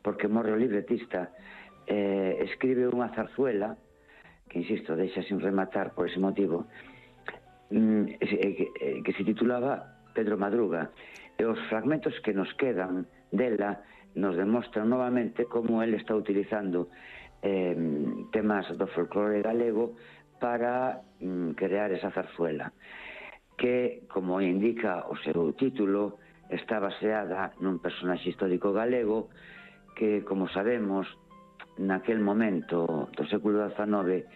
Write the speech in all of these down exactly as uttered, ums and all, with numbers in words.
porque morre o libretista, eh, escribe unha zarzuela, que, insisto, deixa sin rematar por ese motivo, mm, que, que se titulaba Pedro Madruga, e os fragmentos que nos quedan dela nos demostran novamente como ele está utilizando eh, temas do folclore galego para mm, crear esa zarzuela, que, como indica o seu título, está baseada nun personaxe histórico galego que, como sabemos, naquel momento do século dezanove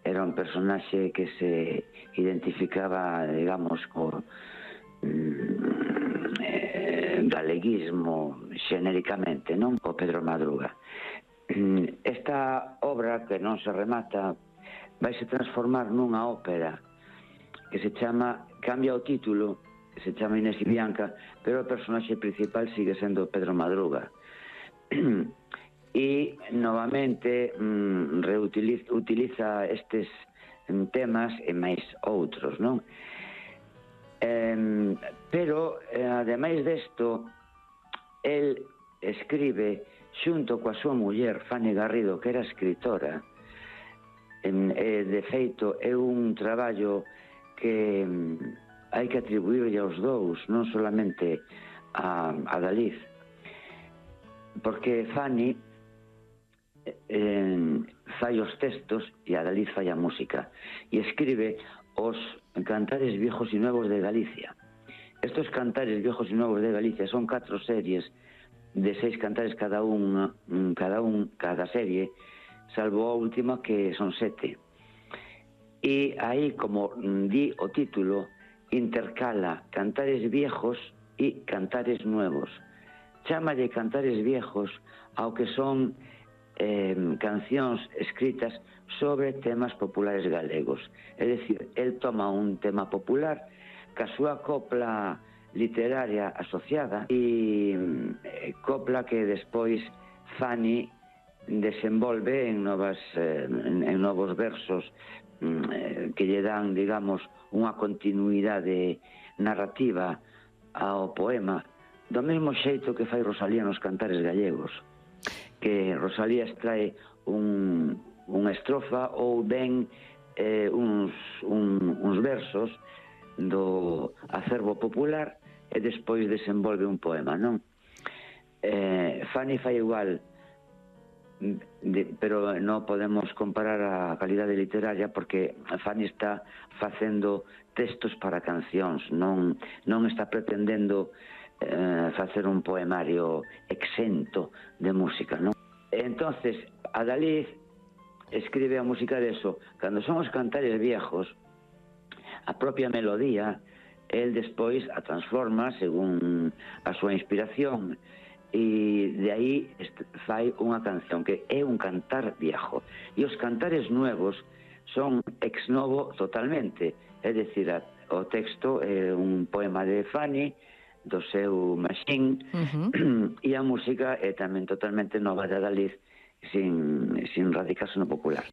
era un personaxe que se identificaba, digamos, co mm, eh, galeguismo xenéricamente, non? O Pedro Madruga. Esta obra, que non se remata, vai se transformar nunha ópera que se chama, cambia o título, se chama Inés y Bianca, pero o personaxe principal sigue sendo Pedro Madruga. E, novamente, mm, reutiliza utiliza estes mm, temas e máis outros, non? Eh, pero, eh, ademais desto, el escribe, xunto coa súa muller, Fanny Garrido, que era escritora, en, eh, de feito, é un traballo que mm, hai que atribuirlle aos dous, non solamente a, a David, porque Fanny eh, fai os textos e a David fai a música, e escribe os Cantares Viejos y Nuevos de Galicia. Estos Cantares Viejos y Nuevos de Galicia son catro series de seis cantares cada un, cada un, cada serie, salvo a última, que son sete. E aí, como di o título, intercala cantares viejos e cantares nuevos. Chámalle cantares viejos ao que son eh, cancións escritas sobre temas populares galegos. É dicir, el toma un tema popular ca súa copla literaria asociada e eh, copla que despois Fanny desenvolve en novas eh, en, en novos versos eh, que lle dan, digamos, unha continuidade narrativa ao poema, do mesmo xeito que fai Rosalía nos Cantares Gallegos, que Rosalía extrae un, unha estrofa ou ben eh, uns, un, uns versos do acervo popular e despois desenvolve un poema, non? Eh, Fanny fai igual, de, pero non podemos comparar a calidade literaria porque Fanny está facendo textos para cancións, non, non está pretendendo eh, facer un poemario exento de música, non? Entonces, a David escribe a música de eso. Cando son os cantares viejos, a propia melodía, el despois a transforma según a súa inspiración, e de aí fai unha canción que é un cantar viejo. E os cantares nuevos son ex novo totalmente, é dicir, o texto é un poema de Fanny, do seu Machín, uh-huh. E a música é tamén totalmente nova de David, sin, sin radicarse no popular.